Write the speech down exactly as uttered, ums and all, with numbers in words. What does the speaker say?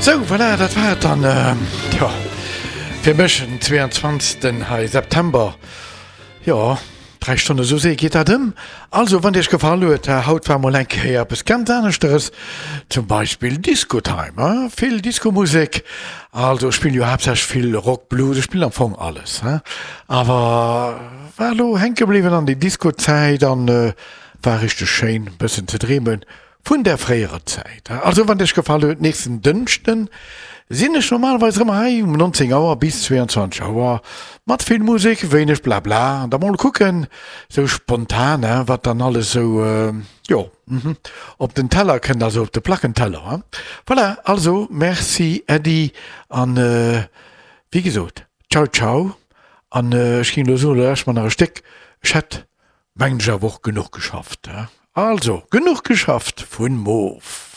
Sou, voilà, dat war et dann, jo, fir mech den zweeanzwanzegsten hei September. Jo, dräi Stonne, sou séier geet dat ëm. Also, wann et iech gefall huet, haut war mol eng Kéier eppes ganz aneschteres, zum Beispill Disco-Time, hein, vill Disco-Musek. Also, ech spillen jo haaptsächlech vill Rock, Blues, ech spillen am Fong alles, hein, awer war elo hänke bliwwen an déi Disco-Zäit an war richteg schéin, e bëssen ze dreemen vun där fréierer Zäit. Also wann et iech gefall huet, nächsten Dënschden sinn ech normalerweis erëm hei um neunzéng Auer bis zwéianzwanzeg Auer mat vill Musek, wéineg Blabla an da mol kucken, sou spontan, wat dann alles sou, jo, op den Teller kënnt, also op de Plackenteller. Voilà, also merci Äddi an wéi gesot, ciao ciao an ech géing elo soen, elo lauschteren mer nach e Stéck, ech hätt mengen ech awer och genuch geschafft. Also, genuch geschafft vun Moof.